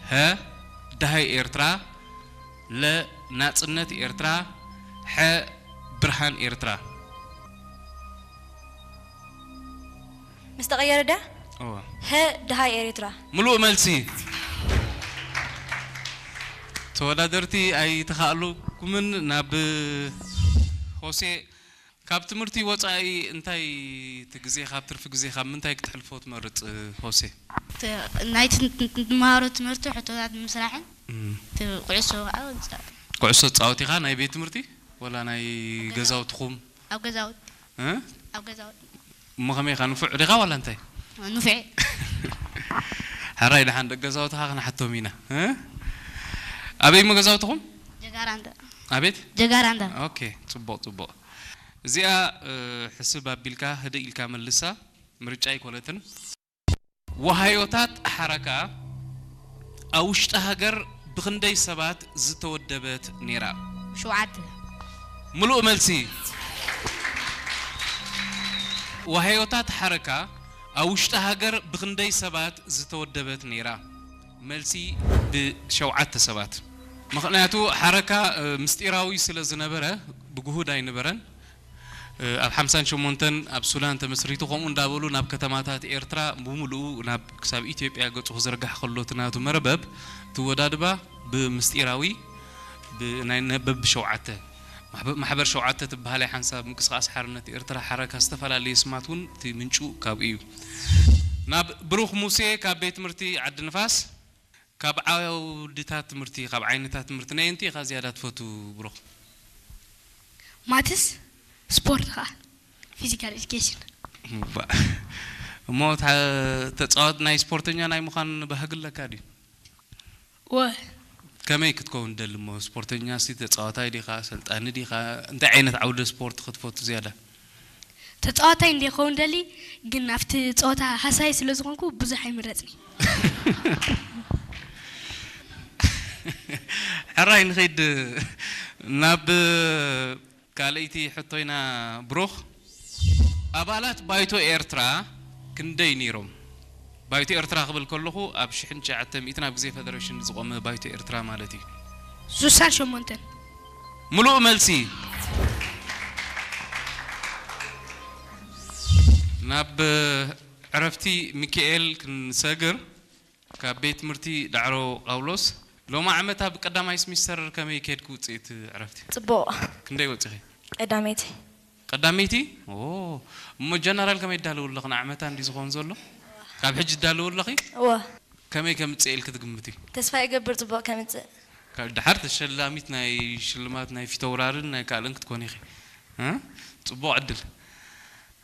ሀ፣ ደሃይ ኤርትራ። ለ፣ ናጽነት ኤርትራ። ሐ፣ ብርሃን ኤርትራ። ምስ ተቐየረ ድያ? እወ። ሀ፣ ደሃይ ኤርትራ። ምሉእ መልሲ። ተወዳደርቲ ኣይተኻእሉኩምን። ናብ ሆሴ፣ ካብ ትምህርቲ ወጻኢ እንታይ እቲ ግዜኻ፣ ኣብ ትርፊ ግዜኻ ምንታይ ክትሕልፎ ትመርጽ ሆሴ? ተ- ናይ ትን- ትን- ትመሃሮ ትምህርቲ ሕቶታት ምስራሕን እም። ት- ኩዕሶ ከዓ ወፃእ ኩዕሶ ትጻወት ኢኻ ናይ ቤት ትምህርቲ ወላ ናይ ገዛውትኹም? ኣብ ገዛውት እ? ኣብ ገዛውት እሞ ከመይ ኢኻ ንፉዕ ዲኻ ዋላ እንታይ? ንፍዕ ሕራይ ደሓን ደቂ ገዛውትኻ ክንሓቶም ኢና። እ? ኣበይ እሞ ገዛውትኹም? ጀጋራንዳ ኣቤት? ጀጋራንዳ ኦኬ፣ ጽቡቕ ጽቡቕ። እዚኣ እ፣ ሕስብ ኣቢልካ ህድእ ኢልካ መልሳ፣ ምርጫ ኣይኮነትን። ወሃዮታት ሓረካ ኣብ ውሽጢ ሃገር ብኽንደይ ሰባት ዝተወደበት ነይራ? ሸውዓተ ምሉእ መልሲ። ወሃዮታት ሓረካ ኣብ ውሽጢ ሃገር ብኽንደይ ሰባት ዝተወደበት ነይራ? መልሲ ብሸውዓተ ሰባት። ምኽንያቱ ሓረካ እ፣ ምስጢራዊ ስለ ዝነበረ ብግሁድ ኣይነበረን። እ፣ ኣብ ሓምሳን ሸሞንተን ኣብ ሱዳን ተመስሪቱ፣ ከምኡ እንዳበሉ ናብ ከተማታት ኤርትራ ብምሉኡ ናብ ክሳብ ኢትዮጵያ ገጹ ክዝርጋሕ ከሎ እቲ ናቱ መርበብ ትወዳድባ ብምስጢራዊ ብ-፣ ናይ ነ-፣ በብሸውዓተ ማሕበ-፣ ማሕበር ሸውዓተ ትበሃል እያ ሓንሳብ ምንቅስቓስ ሓርነት ኤርትራ ሓረካ ዝተፈላለየ ስማት እውን እቲ ምንጩ ካብኡ እዩ። ናብ ብሩኽ ሙሴ ካብ ቤት ትምህርቲ ዓዲ ንፋስ። ካብ ዓውድታት ትምህርቲ፣ ካብ ዓይነታት ትምህርቲ ናይ ኣየንቲኻ ዝያዳ ትፈቱ ብሩኽ? ማትስ፣ ስፖርት ከዓ ፊዚካል ኤዱኬሽን። እባ። እሞ ታ-፣ ተጻወት ናይ ስፖርተኛ ናይ ምዃን ባህጊ ኣለካ ድዩ? ወ ከመይ ክትከውን ደሊ እሞ? ስፖርተኛ ሲ ተጻዋታይ ዲኻ፣ ሰልጣኒ ዲኻ? እንታይ ዓይነት ዓውደ ስፖርት ክትፈቱ ዝያዳ? ተጻዋታይ እንደ ይኸውን ደሊ፣ ግን ኣብቲ ጸወታ ሃሳይ ስለ ዝኾንኩ ብዙሕ ኣይምረጽኒ። ሕራይ ንኸይድ ናብ ካልኣይቲ ሕቶይና። ብሩኽ፣ ኣባላት ባይቶ ኤርትራ ክንደይ ነይሮም? ባይቶ ኤርትራ ክብል ከለኹ ኣብ ሽሕን ትሽዓተ ሚእትን ኣብ ግዜ ፈደረሽን ዝቖመ ባይቶ ኤርትራ ማለት እዩ። ሱሳን ሸሞንተን። ምሉእ መልሲ። ናብ ዕረፍቲ ሚካኤል ክንሰግር ካብ ቤት ትምህርቲ ዳዕሮ ጳውሎስ። ሎሚ ዓመት ኣብ ቀዳማይ ስሚስተር ከመይ ከድኪ ውፅኢት ዕረፍቲ? ጽቡቕ። ክንደይ ወፂኺ? ቀዳመይቲ። ቀዳመይቲ? ኦ፣ እሞ ጀነራል ከመይ ይዳለወለኺ? ንዓመታ እንዲ ዝኾን ዘሎ ካብ ሕጂ ይዳለወለኺ? እወ። ከመይ ከምፅእ ኢልኪ ትግምቲ? ተስፋ ይገብር ጽቡቕ ከምጽእ። ካብ ድሓር ተሸላሚት ናይ ሽልማት ናይ ፊተውራርን ናይ ካልእን ክትኮኒ ኢኺ። እ? ጽቡቕ ዕድል።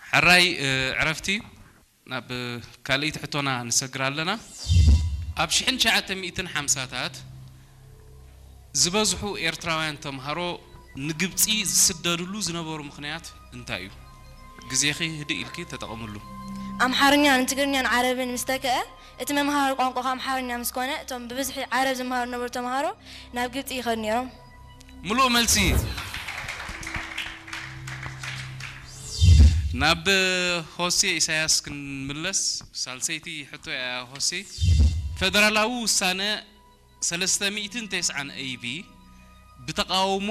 ሕራይ እ፣ ዕረፍቲ ናብ ካልኣይቲ ሕቶና ንሰግር ኣለና። ኣብ ሽሕን ትሽዓተ ሚእትን ሓምሳታት ዝበዝሑ ኤርትራውያን ተምሃሮ ንግብጺ ዝስደድሉ ዝነበሩ ምኽንያት እንታይ እዩ? ግዜኺ ህድእ ኢልኪ ተጠቐምሉ። ኣምሓርኛን ትግርኛን ዓረብን ምስ ተክአ፣ እቲ መምሃሪ ቋንቋኻ ኣምሓርኛ ምስ ኮነ፣ እቶም ብብዝሒ ዓረብ ዝመሃሩ ዝነበሩ ተምሃሮ ናብ ግብጺ ይኸዱ ነይሮም። ምሉእ መልሲ። ናብ ሆሴ ኢሳያስ ክንምለስ፣ ሳልሰይቲ ሕቶ እያ ሆሴ። ፈደራላዊ ውሳነ ሰለስተ ሚእትን ተስዓን ኤቢ ብተቓውሞ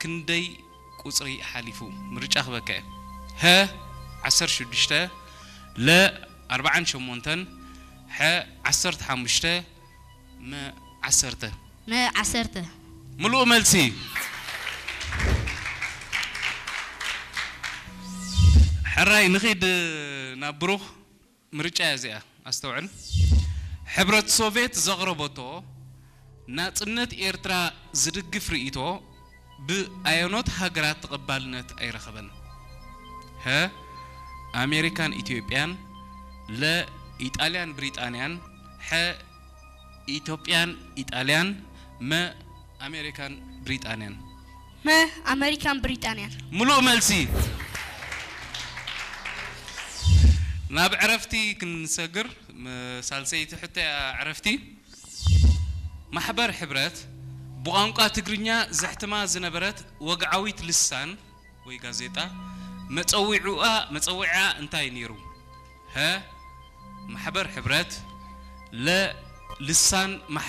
ክንደይ ቁጽሪ ሓሊፉ? ምርጫ ክበካ እየ። ሀ ዓሰርተ ሽዱሽተ፣ ለ ኣርባዓን ሸሞንተን፣ ሐ ዓሰርተ ሓሙሽተ፣ መ ዓሰርተ። መ ዓሰርተ ምሉእ መልሲ። ሕራይ ንኺድ ናብ ብሩኽ። ምርጫ እያ እዚኣ፣ ኣስተውዕል። ሕብረት ሶቭየት ዘቕረበቶ ናጽነት ኤርትራ ዝድግፍ ርእይቶ ብኣየኖት ሃገራት ተቐባልነት ኣይረኸበን? ሀ ኣሜሪካን ኢትዮጵያን፣ ለ ኢጣልያን ብሪጣንያን፣ ሐ ኢትዮጵያን ኢጣልያን፣ መ ኣሜሪካን ብሪጣንያን። መ ኣመሪካን ብሪጣንያን። ምሉእ መልሲ። ናብ ዕረፍቲ ክንሰግር፣ ም- ሳልሰይቲ ሕቶ እያ ዕረፍቲ። ማሕበር ሕብረት ብቋንቋ ትግርኛ ዘሕትማ ዝነበረት ወግዓዊት ልሳን ወይ ጋዜጣ መጸዊዑኣ መጸዊዓ እንታይ ነይሩ? ሀ ማሕበር ሕብረት፣ ለ ልሳን